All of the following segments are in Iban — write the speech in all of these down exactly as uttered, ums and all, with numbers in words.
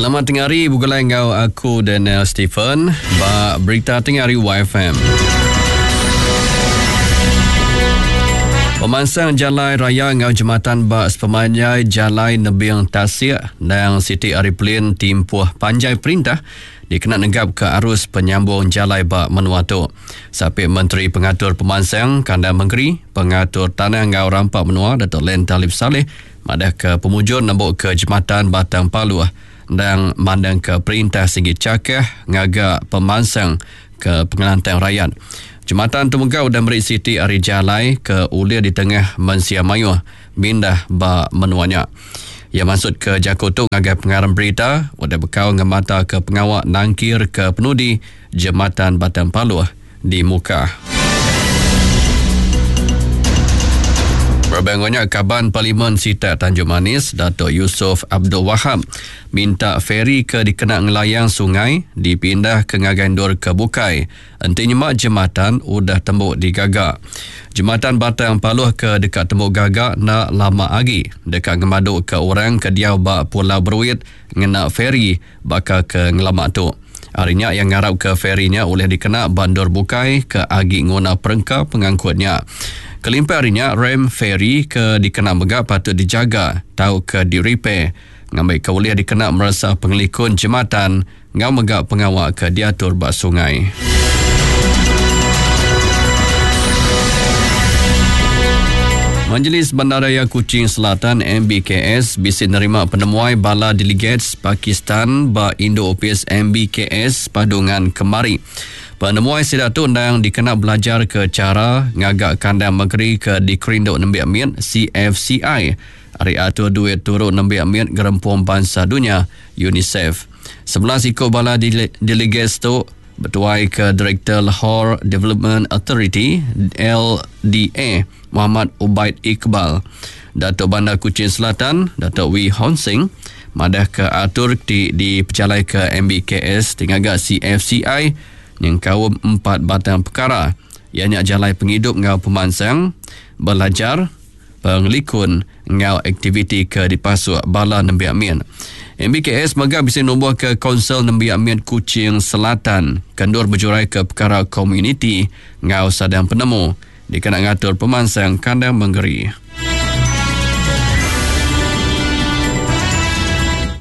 Selamat tengah hari begulai enggau aku Daniel Stephen ba berita tengah hari Y F M. Pemansang jalai raya enggau jematan ba sepemanjai jalai nebing tasik dan siti hari pelin timpuh panjai perintah dikena negap ke arus penyambung jalai ba menua tu. Sapit Menteri Pengatur Pemansang Kandang Mengeri, Pengatur Tanah enggau Rampa Menua Datuk Len Talib Saleh madah ke pemujur nembuk ke jematan Batang Paluh dan mandang ke perintah segi cakah ngaga pemansang ke pengelantang rakyat. Jematan tu mega udah meri siti ari jalai ke ulia di tengah mensia mayuh mindah ba menuanya. Ia masuk ke jaku tu ngagai pengarang berita udah bekau ngemata ke pengawak nangkir ke penudi Jematan Batang Paluh di Mukah. Berbangunnya Kaban Parlimen Sitak Tanjung Manis, Datuk Yusof Abdul Wahab minta feri ke dikena ngelayang sungai dipindah ke ngagai endur ke bukai. Enti nyemak jematan udah tembuk digagak. Jematan Batang Paluh ke dekat tembuk gagak nak lama lagi. Dekat ngemaduk ke orang ke diau ba Pulau Beruit ngena feri baka ke ngelamak tu. Harinya yang ngarap ke ferinya oleh dikena bandur bukai ke agi nguna perengka pengangkutnya. Kelimpah harinya rem feri ke dikena mega patut dijaga tau ke di-repair ngambil ke boleh dikena merasa pengelikun jematan ngau mega pengawak ke diatur bak sungai. Majlis Bandaraya Kuching Selatan M B K S bisa nerima penemuai bala delegates Pakistan ba Indo Office M B K S Padungan Kemari. Penemuai sida tu ndang dikena belajar ke cara ngagak kandang negeri ke dikerinduk nembiak mit C F C I. Ari atur duit turut nembiak mit Gerempung Bangsa Dunia UNICEF. Sebelas ikut bala dele- delegates tu bertuai ke Direktur Lahore Development Authority L D A Muhammad Ubaid Iqbal. Datuk Bandar Kuching Selatan Datuk Wee Hon Sing madah ke atur ti dipejalai ke M B K S tinggal C F C I yang kaum empat batang perkara ianya jalai penghidup ngau pemansang, belajar, pengelikun ngau aktiviti ke dipasuk bala nembiak min. M B K S mega bisa numbuh ke Konsel Nembiak Min Kuching Selatan kendur berjurai ke perkara komuniti ngau sadang penemu dikena ngatur pemansang kandang mengeri.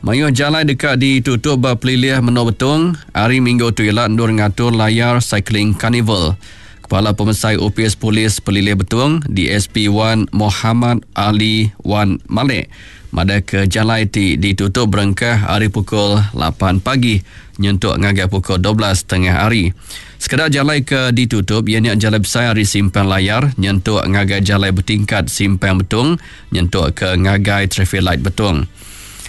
Mayuh jalai dekat ditutup ba pelilih Menua Betong hari Minggu tu ialah ndur ngatur layar cycling carnival. Kepala Pemesai Opis Polis Pelilih Betong D S P Wan Muhammad Ali Wan Malik pada ke jalai ti ditutup berengkah hari pukul lapan pagi nyentuk ngagai pukul dua belas tengah hari. Sekadar jalai ke ditutup ianya jalai besar hari simpang layar nyentuk ngagai jalai bertingkat simpang Betong nyentuk ke ngagai traffic light Betong.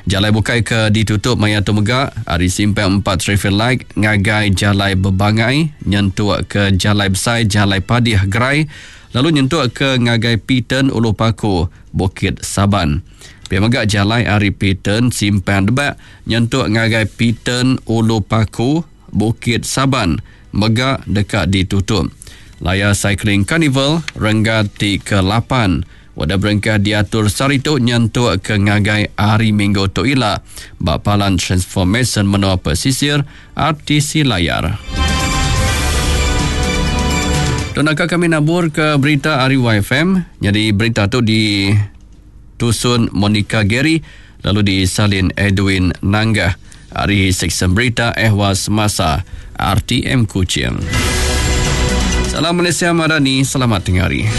Jalai bukai ke ditutup maya tu mega hari simpang empat traffic light ngagai jalai berbangai nyentuk ke jalai besar jalai Padih Gerai lalu nyentuk ke ngagai Pitan Ulu Paku Bukit Saban. Pia mega jalai ari Pitan Simpang Debak nyentuk ngagai Pitan Ulu Paku Bukit Saban mega dekat ditutup. Layar Cycling Carnival renggat ti ke lapan wadah berengkah diatur sehari tu nyentuk ke ngagai hari Minggu tu ila bak Palan Transformation Menua Pesisir R T C Layar. Tunaka kami nabur ke berita hari Y F M. Jadi berita tu di tusun Monica Gary lalu disalin Edwin Nanggah. Hari seksyen berita Ehwal Semasa R T M Kuching. Salam Malaysia Madani, selamat tengah hari.